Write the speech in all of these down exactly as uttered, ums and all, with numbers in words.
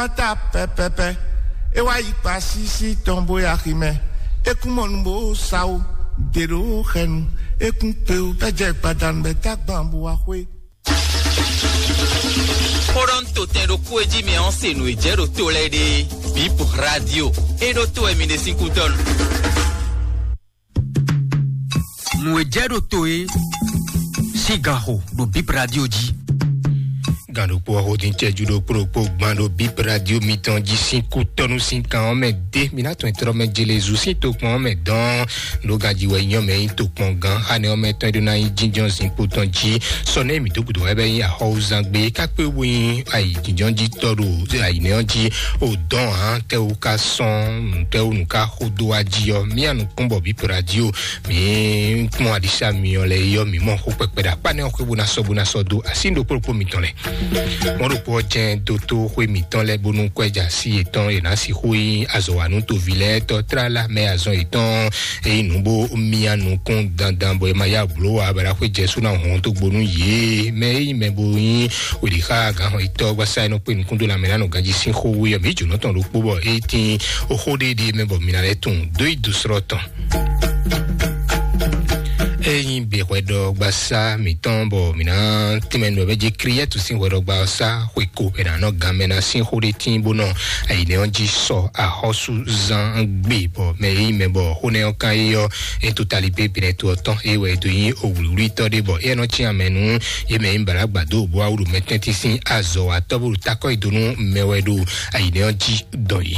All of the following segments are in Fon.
Ata pɛpɛpɛ, e wá yi kpa sísí tɔn bó ya xi mɛ. E kún mɔ nu bó sa wo, dě ɖó xɛnu. E kún pe wo, bɛ jɛ gbadanu bɛ tá gban bó wá xwé. Xóɖɔ́ntotɛn ɖokpó e jí mi ɔ́ se nǔ e jɛ ɖo to lɛ́ɛ ɖe. Bip Radio, e ɖó to wɛ mi ɖe sín kútɔ́nu. Nǔ e jɛ ɖo to e sín ganxo ɖo Bip Radio jí. Gǎn ɖokpó ɔ́ xó dín cɛjú ɖokpó ɖokpó gban ɖo Bip Radio mitɔn jí sín kútɔ́nu sín kan ɔ́ mɛ dé. Mi ná tɔn tlɔ́ mɛ jelezu sín tokpɔn ɔ́ mɛ dɔn. Nǔ ganjí wɛ nyɔ́ mɛ nyí tokpɔngán xánɛ ɔ́ mɛ tɔn e ɖó ná nyí jínjɔ́n zinkpo tɔn jí. Sɔ nɛ́ mǐ dó gǔdo wɛ bɛ nyí axɔwúzán gbé kákpé wú nyí ayi jínjɔ́n jí tɔ́ ɖo ayǐnɛ́ ɔ́ jí. O dɔn hǎn tɛ́wú ká sɔ́n nǔtɛ́wú nǔ ká xó dó wá jí ɔ́, mía nukún bɔ Bip Radio mǐ kpɔ́n aɖisá myɔ lɛ yɔ mǐ mɔ xó kpɛkpɛ ɖo akpá nɛ́ ɔ́ xwé bó ná sɔ́ bó ná sɔ́ dó así ɖokpó ɖokpó mitɔn lɛ. Mɔ̌ ɖokpó ɔ́ jɛ́n dótó xwé mǐtɔn lɛ́ɛ bónú kwɛ́ ja sí yětɔn è nǎ sixú nyí azɔ̌wanú toví lɛ́ɛ tɔ́ tlálá mɛ azɔn yětɔn. Ényí nǔ bó myá nukún dandan bɔ è ma yá blǒ ǎ, bɔ è nǎ xwé Jɛsú ná hɔn tó gbo nú yě. Mɛ e nyí mɛ bo nyí wěɖixá gǎnhɔn yětɔ́ gbásá e nɔ kpé nukún dó lanmɛ ná nɔ ganjí sín xó wú ɔ́, mǐ jǒnɔ tɔn ɖokpó bɔ é tín xó ɖé ɖé mɛ bɔ mǐ ná lɛ́ tunwun dó yi dó slɔ́ tɔn. Ényí be hwɛɖɔgbasá mǐtɔn bɔ mǐ ná tínmɛ nú ɔ́ jí Kliyɛ́tu sín hwɛɖɔgbasá xwe ko è nǎ nɔ gan mɛ ná sín xó ɖé tíin bó nɔ ayǐnɛ́ ɔ́ jí sɔ axɔ́súzán gbe bɔ mɛ e nyí mɛ bɔ xó nɛ́ ɔ́ kán é ɔ́, é to tali pépinɛ to ɔ́ tɔn é wɛ é dó nyí owlǐwlítɔ́ ɖé bɔ é nɔ cyán mɛ nú yě mɛ e nyí bǎlá gbǎdó bó wá wú ɖo mɛtɛ́ntin sín azɔ̌watɔ́ bó ɖo takɔ́ yi dó nú mɛ wɛ ɖo ayǐnɛ́ ɔ́ jí dɔn yi.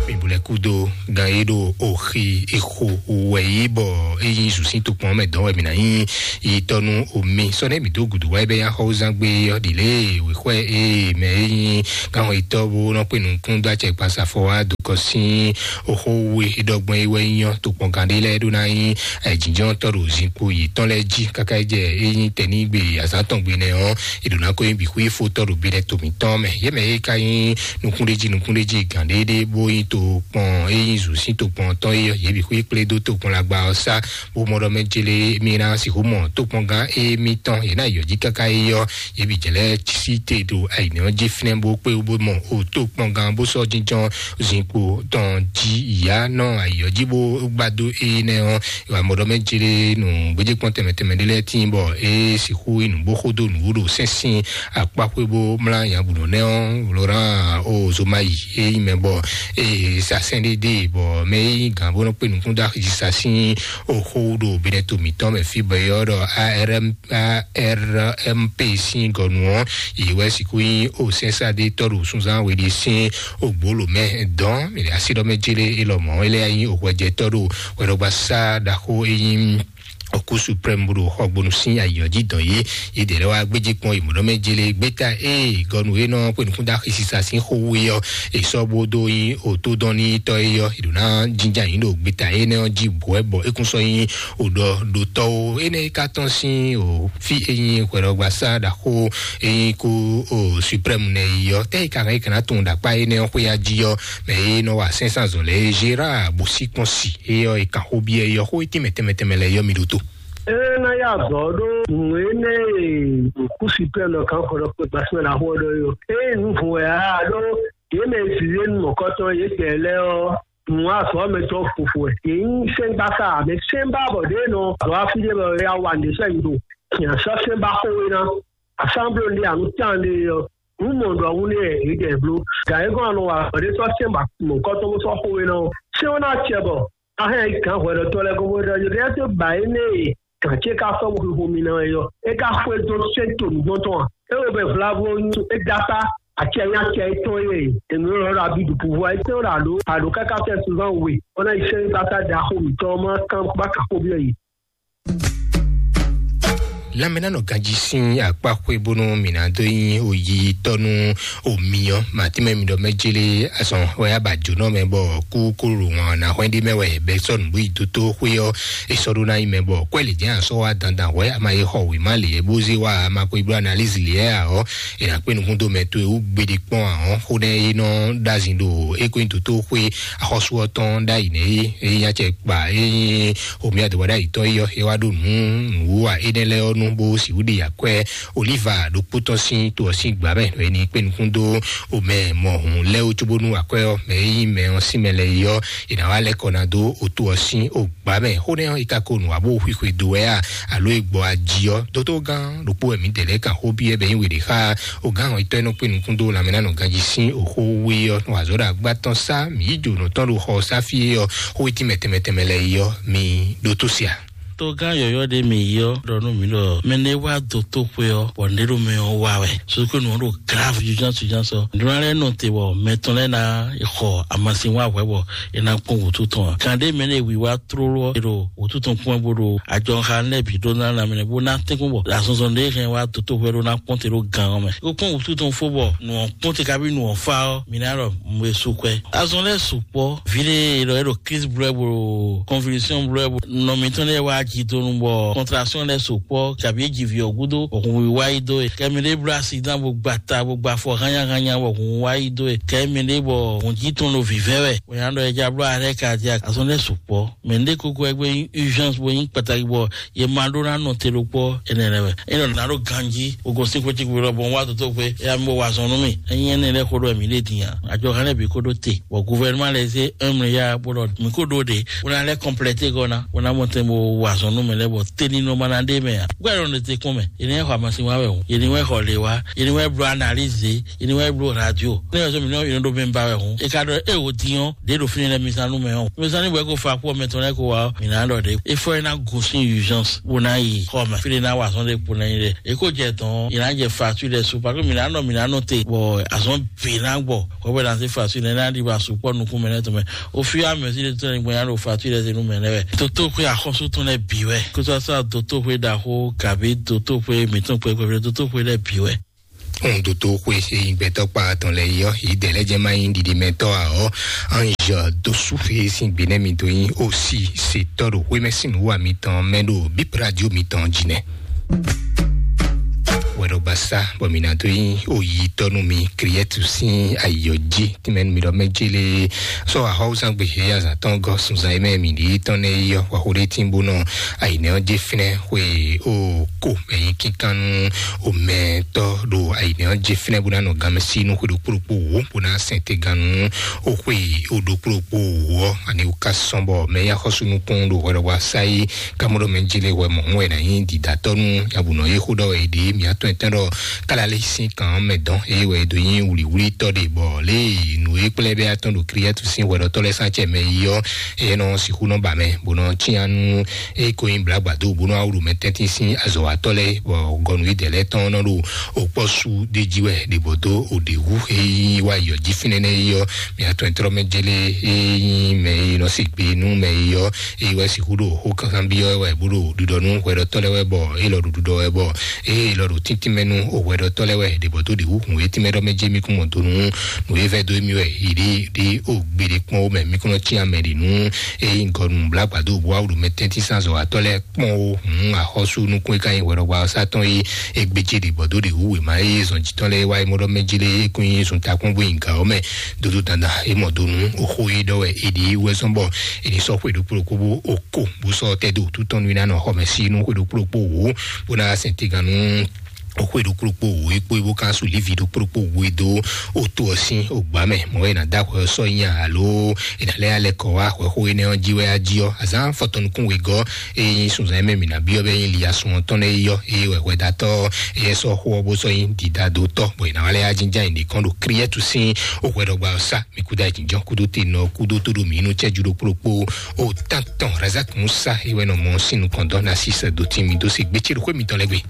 Mǐbulɛ kúdo gan e ɖo oxi exo wɛ yi bɔ é nyí zǔsín tokpɔn mɛ dɔn wɛ mǐ ná nyí yi tɔnu omi sɔ nɛ mǐ dó gudu wá bɛ ya xɔwúzán gbé ɔ́ ɖi lé wěxwɛ e mɛ é nyí káwọn itɔ́ bó nɔ kpé nukún dó acɛ kpasafɔ wá dó kɔ sín oxó we ɖɔgbɔn yi wɛ nyɔ tokpɔn gan ɖé lɛ́ɛ ɖó ná nyí jǐnjɔ́ntɔ́ ɖo zinkpo yětɔn lɛ́ɛ jí káká jɛ é nyí tɛnígbe azǎn tɔn gbe nɛ ɔ́, è ɖǒ ná ko nyí bǐ xwífótɔ́ ɖo binɛ to mǐtɔn mɛ. Yě mɛ e ka nyí nukúnɖéjí nukúnɖéjí gǎn ɖéɖé bó nyí to kpɔn e nyí zǔ sín to kpɔn tɔn é ɔ́, yě bǐ xwí kplé dó to kpɔn lagba ɔ́ sá, bó mɔ ɖɔ mɛ jélé mí ná sixú mɔ tó kpɔn gán émítɔn yě ná yɔ jí káká é ɔ́, yě bǐ jɛ lɛ́ɛ sí te ɖo ayǐnɛ ɔ́ jí fínɛ́ bó kpé bó mɔ o tó kpɔn gán bó sɔ́ jínjɔ́n zinkpo tɔn jí yǎ nɔ ayǐ ɔ́ jí bó gbá dó énɛ́ ɔ́, wà mɔ ɖɔ mɛ jélé nú gbéjékpɔ́n tɛnmɛ tɛnmɛ ɖé lɛ́ɛ tíin bɔ é sixú yi nǔgbó xódó nǔwú ɖo sɛ́nsín akpáxwé bó mlá nyabǔnɔ nɛ́ ɔ́, Laurent Ozomayi é nyí mɛ bɔ é sa sɛ́n ɖé dé bɔ mɛ é nyí gǎn bó nɔ kpé nukún dó axi sa sín oxó ɖo Benɛto mǐtɔn mɛ fí bɔ é ɔ́ ɖɔ ARM ARMP sín gɔnu ɔ́, yě wɛ sixú nyí o sɛ́nsáɖétɔ́ ɖo súnzán we ɖé sín ògbólò mɛ dɔn mɛ asi ɖɔ mɛ jélé é lɔmɔ̌ é lɛ́ nyí òhwɛjɛtɔ́ ɖo hwɛɖɔgbasá ɖaxó é nyí Ɔkú Suprême bó ɖo xɔgbónu sín ayǐ ɔ́ jí dɔn yé. Yě ɖě lɛ́ wá gbéjé kpɔ́n yi mɔ̌ mɛ jélé gbéta ée gɔnu e nɔ kpé nukún dó axi sisa sín xó wú é ɔ́, è sɔ́ bó dó nyí òtódɔ́nnítɔ́ é ɔ́, è ɖǒ ná jínjɔ́n ayǐ ɖo gbéta énɛ́ ɔ́ jí bǔ wɛ bɔ é kún sɔ́ nyí òɖɔ ɖotɔ́ ó. Énɛ́ ka tɔ́n sín o fí e nyí hwɛɖɔgbasá ɖaxó e nyí kú o Suprême nɛ yi ɔ́, tɛ́ yi ka hɛn é ka ná tunwun ɖo akpá énɛ́ ɔ́ xwé ya jí ɔ́, mɛ e nɔ wa sɛ́nsánzɔn lɛ́ɛ Gérard Bosíkpɔ́nsi é ɔ́, è kan xó byɔ́ é ɔ́, xó e tɛnmɛ tɛnmɛ tɛnmɛ lɛ́ɛ yɔ́ mi ɖótó. Ena ya azɔ ɖo nǔ énɛ́ e kúsi pɛ́ nɔ kan xɔ ɖɔ kpé gbasímɛ ná xɔ ɖɔ yó. Eye nǔ vun wɛ a ɖó yě mɛ e zǐzé nu mɔ̌kɔtɔn yě gbɛ lɛ́ɛ ɔ́, nǔ azɔ mɛ tɔn fofo wɛ. Yě nyí sɛ́ngbása mɛ sɛ́nbá bɔ ɖě nɔ azɔ afi ɖé bɔ ya wa nǔ ɖé sɛ́ nyi ɖo. Nya sɔ́ sɛ́nbá xó we ná. Asámbló ɖé anu tán ɖé ɔ́. Nǔ mɔ ɖɔ wú nɛ yě ɖɛ bló. Gǎ é gɔ́n anɔ wa bɔ ɖé sɔ́ sɛ́nbá mɔ̌kɔtɔn bó sɔ́ xó we ná ɔ́. Sɛ́n ɔ́ ná acɛ bɔ Ahɛn yi gǎn hwɛɖɔtɔ́ lɛ́ɛ gɔ́ bó ɖɔ yě ɖɛ́ dó ba énɛ́ e gǎn ce ka sɔ́ bó xixo mi ná wɛ ɔ́, é ka xwedó sɛ́n to nǔgbɔn tɔn a? É wo bɛ vlavo nyi é dó akpá acɛ nyí acɛ étɔn e è nǔ lɔ́ ɖo abidupuvɔ étɛn ɖo àɖó àɖó káká fɛ́ sunzán we, bó ná yi sɛ́n gbáta ɖaxó mǐtɔn ɔ́ má kán bá ka xó byɔ́ yě. Lanmɛnánɔ ganjí sín akpá xwé bónú mǐ ná dó nyí oyitɔ́ nú omi ɔ́, màtímɛ mi ɖɔ mɛ jélé azɔn wɛ yá ba jǒnɔ mɛ bɔ kú kúrú wọn ná hwɛ́n ɖé mɛ wɛ bɛ sɔ́ nǔbú yi dótó xwé ɔ́, é sɔ́ ɖó ná nyí mɛ bɔ kwɛ́ lě jɛ́n a sɔ́ wá dandan hwɛ́ a ma yi xɔ wěma lě bó zé wá a ma ko yi bló analízi lě ɔ́, è nǎ kpé nukún dó mɛ towe wú gbeɖé kpɔ́n ǎ ɔ́, xó nɛ́ é nɔ ɖó azin ɖo é ko nyí dótó xwé axɔ́sú ɔ́ tɔn ɖ'ayǐ nɛ́ é, é nyí acɛ kpa é nyí omi adǒ wá ɖ'ayǐ tɔn é ɔ́, é wá ɖó nǔ nǔ wú a énɛ́ lɛ́ɛ ɔ́ nú bó sixú ɖe akwɛ́ Oliva ɖokpó tɔn sín to ɔ́ sín gbǎ mɛ, ɖɔ é ní kpé nukún dó omɛ mɔhun lɛ́ɛ wú cóbónú akwɛ́ ɔ́ mɛ e nyí mɛ ɔ́ sín mɛ lɛ́ɛ yi ɔ́, è nǎ wá lɛ́ kɔ ná dó oto ɔ́ sín ogbǎ mɛ. Xó nɛ́ ɔ́, è ka ko nǔ wá bó xwixwe dó wɛ a, alo è gbɔ aji ɔ́? Dótógán ɖokpó wɛ mǐdɛɛ lɛ́ɛ kan xó byɔ́ bɔ é nyí we ɖě xá ogán ɔ́, itɔ́ e nɔ kpé nukún dó lanmɛnánɔ ganjí sín òxó wé ɔ́, nɔ azɔ̌ ɖo agbá tɔn sá mǐ yi jǒnɔ tɔn ɖo xɔ ɔ́ sá fí é ɔ́, xó e tínmɛ tɛnmɛ tɛnmɛ lɛ́ɛ yi ɔ́, mi ɖótó se a? Togán yɔ̌yɔ́ ɖé mi yɔ ɖɔ nú mi ɖɔ mɛ ɖé wá dó tó xwé ɔ́, bɔ nɖé ɖo mɛ ɔ́ wá wɛ. Sókè nǔ ɔ́ ɖo grave urgence urgence ɔ́. Nǔɖé lɛ́ɛ nɔ te bɔ mɛ tɔn lɛ́ɛ ná xɔ amasin wá hwɛ bɔ é ná kpɔ́n wǔtu tɔn ǎ. Kan ɖé mɛ ɖé wiwa tlóló ɔ́, è ɖo wǔtu tɔn kpɔ́n bó ɖo ajɔxa lɛ́ɛ bǐ ɖó ná ná mɛ bó ná tɛ́nkpɔ́n bɔ azɔnzɔn ɖé hɛn wá dó tó xwé ɖó ná kpɔ́n te ɖó gan ɔ́ mɛ. É kó kpɔ́n wǔtu tɔn fó bɔ nǔ ɔ́ kpɔ́n te kabi nǔ ɔ́ fá ɔ́, mi ná ɖɔ mɔ e su kwɛ. Azɔn lɛ́ɛ sukpɔ́, vǐ ɖé e ɖɔ é ɖo crise bló ɛ bó ɖo convulsion bló ɛ bó nɔ mitɔn lɛ́ɛ wá jidonu bɔ contraction lɛ́ɛ sukpɔ́, kabi é ji vǐ ɔ́ gúdo, bɔ hun wá yi dó e. Kɛ mi ɖé bló accident bó gba ta bó gba afɔ hányáhányá bɔ hun wá yi dó e. Kɛ mi ɖé bɔ hun jí tɔn ɖo vǐvɛ́ wɛ, bó nya ɖɔ é já bló arrêt cardiaque. Azɔn lɛ́ɛ sukpɔ́, mɛ ɖé kókó ɛgbẹ́ nyí urgence bó nyí kpataki bɔ ye ma ɖó ná nɔ te ɖokpɔ ɛnɛ lɛ wɛ. Enɔ ná ɖo ganji o gosín xwé cikú lɔ bɔn wá tótó xwé eya mi bɔ wá zɔn nú mi. Enyi ɛnɛ lɛ xó ɖɔ mi ɖe din a, adzɔ hɛn lɛ bi kó ɖó te bɔ gouvernement lɛ zé un milliard bó ɖɔ mi kó ɖó ɖe bó ná lɛ complète gɔ ná bó ná mɔ tɛn bó wá zɔn nú mi lɛ bɔ teni nɔ ma ná ɖe mɛ a. Gbɛ ɖɔ ne te kún mɛ, yeni wɛ xɔ amasin wa wɛ o, yeni wɛ xɔ le wa, yeni wɛ blɔ analyse, yeni wɛ blɔ radio. Ne yɛ so mi nɔ yeni ɖo mi ba wɛ o. E ka ɖɔ e o din ɔ, ɖe ɖo fini lɛ mi zan nú mɛ ɔ. Mi zan ni bɔ e ko fa kpɔ mɛ tɔn lɛ ko wa ɔ, mi na ɖɔ ɖe. E fɔ e na gosin urgence bó ná yi xɔ mɛ. Fi ɖe ná wa azɔn ɖe kpo ná yi ɖe. E ko jɛ tɔn, e ná jɛ facture ɖe su, parce que mi na nɔ, mi na nɔ te, bɔ azɔn bǐ ná gbɔ. Kɔbɛ na se facture ɖe ná ɖi ba su kpɔ nukun mɛ nɛ tɔn mɛ. O fi amɛ si ɖe tɔn ne gbɔ ya ɖo facture ɖe se nu mɛ nɛ wɛ. Toto xwe axɔsu tɔn lɛ bǐ wɛ. Kótó sɔ doto xwe ɖaxo kabi doto xwe mitɔn kpɛkpɛ, doto xwe lɛ bǐ wɛ. Ohun doto xwe e nyi gbɛtɔ́ kpa tɔn lɛ yi ɔ́, yi dɛ lɛ jɛ ma nyi ɖiɖimɛtɔ́ ǎ ɔ́, Ange Dosufe sín gbe nɛ́ mi dó nyi osi setɔ́ ɖo xwémɛ sín nǔwa mitɔn mɛ ɖo Bip Radio mitɔn jí nɛ́. Wɛɖɔgbasá bɔ mi ná dó nyi oyitɔ́ nú mi Kriɛtu sín ayɔ jí tínmɛ nú mi ɖɔ mɛ jélé sɔ axɔwúzán gbe he azǎn tɔn gɔ́ sunzan e mɛ mi ɖi tɔn nɛ yi ɔ́, wá xo ɖé tín bó nɔ ayinɛ ɔ́ jɛ fínɛ́ xwe o ko mɛ nyi kíkan nú omɛtɔ́ ɖo ayinɛ ɔ́ jɛ fínɛ́ bó ná nɔ ganmɛ sí nú xwe ɖokpó ɖokpó wǒ bó ná sɛn te gan nú o xwe o ɖokpó ɖokpó wǒ ɔ́, ani wò ká sɔn bɔ mɛ ya xɔsú nukún ɖo hwɛɖɔwá sáyé kámɔɖɔ mɛ jélé wɛ mɔ̌ wɛ ná nyí dǐdátɔ́ nú abǔnɔ yé xó ɖɔ wɛ è ɖe mǐ atɔn ɛtɛn ɖɔ kálalé sín kan mɛ dɔn eye wɛ è dó nyí wlǐwlítɔ́ ɖe bɔ lě e nǔ e kplɛ́ bɛ́ atɔn ɖo Kriatu sín hwɛɖɔtɔ́ lɛ́ɛ sán acɛ mɛ yi ɔ́, é nɔ sixú nɔ ba mɛ bó nɔ cyán nú é ko nyí blǎgbǎdó bó nɔ wá wlú mɛ tɛ́ntin sín azɔ̌watɔ́ lɛ́ɛ bɔ gɔnu idɛ lɛ́ɛ tɔn nɔ ɖo òkpɔ́ sú ɖé jí wɛ ɖě bɔ dó òɖě wú é nyí wá yɔ jí fínɛ́ nɛ́ é ɔ́, mǐ atɔn e tlɔ́ mɛ jɛ lé é nyí mɛ e nɔ se gbe nú mɛ e ɔ́, é wɛ sixú ɖo xó kankan byɔ́ wɛ bó ɖo ɖiɖɔ nú hwɛɖɔtɔ́ lɛ́ɛ wɛ bɔ é lɔ ɖo ɖiɖɔ wɛ bɔ é lɔ ɖo tíntín mɛ nú hwɛɖɔtɔ́ lɛ́ɛ wɛ ɖě bɔ dó ɖě wú hǔn é tínmɛ ɖɔ mɛ jɛ mí kún mɔ dó nú nǔ e vɛ́ dó émí wɛ yi ɖi ɖi o gbeɖé kpɔ́n ó mɛ mí kún nɔ cyán mɛ ɖě nú é nyí gɔnu blǎgbádó bó wá wlú mɛ tɛ́ntin sín azɔ̌watɔ́ lɛ́ɛ kpɔ́n ó hǔn axɔ́sú nukún e ka nyí hwɛɖɔgbasá tɔn é é gbé ce ɖě bɔ dó ɖě wú wěma é zɔn jǐtɔn lɛ́ɛ wá é mɔ ɖɔ mɛ jí lé é kún nyí zun takún bó nyi gǎ ɔ́ mɛ dódó dandan é mɔ dó nú xó é ɖɔ wɛ é ɖi wɛ zɔn bɔ é ní sɔ́ xwe ɖokpó ɖokpó bó o ko bó sɔ́ tɛ́ dó wútu tɔn nú é ná nɔ xɔ mɛ sí nú xwe ɖokpó ɖokpó wǒ bó ná sɛn tegan nú xwe ɖokpó ɖokpó wǒ é kpó é bó ká su lívi ɖokpó ɖokpó wǒ é dó o to ɔ́ sín o gbǎ mɛ mɔ̌ é ná dó axwɛ ɔ́ sɔ́ nyi alo é ná lɛ́ alɛ kɔ wá axwɛ xó énɛ́ ɔ́ jí wɛ á jí ɔ́ azǎn fɔtɔnukún wegɔ́ é nyí sunzan mɛ mǐ ná byɔ́ bɛ nyí li asun ɔ́ tɔn lɛ́ɛ yi ɔ́ é wɛ hwɛdátɔ́ é sɔ́ xó ɔ́ bó sɔ́ nyí didadótɔ́ bɔ è nǎ wá lɛ́ yá jínján yi nǐkɔn ɖo Kriɛtu sín o hwɛɖɔgba ɔ́ sá mǐ kúdó ayǐjínjɔ́n kúdó te nɔ kúdó tó ɖo mǐ nú cɛ́jú ɖokpó ɖokpó o tántɔn Razak Musa é wɛ nɔ mɔ sín nukɔn dɔn ná sí sɛ dó tín mì dó se gbé cé ɖo xwé mǐtɔn lɛ́ɛ gbe.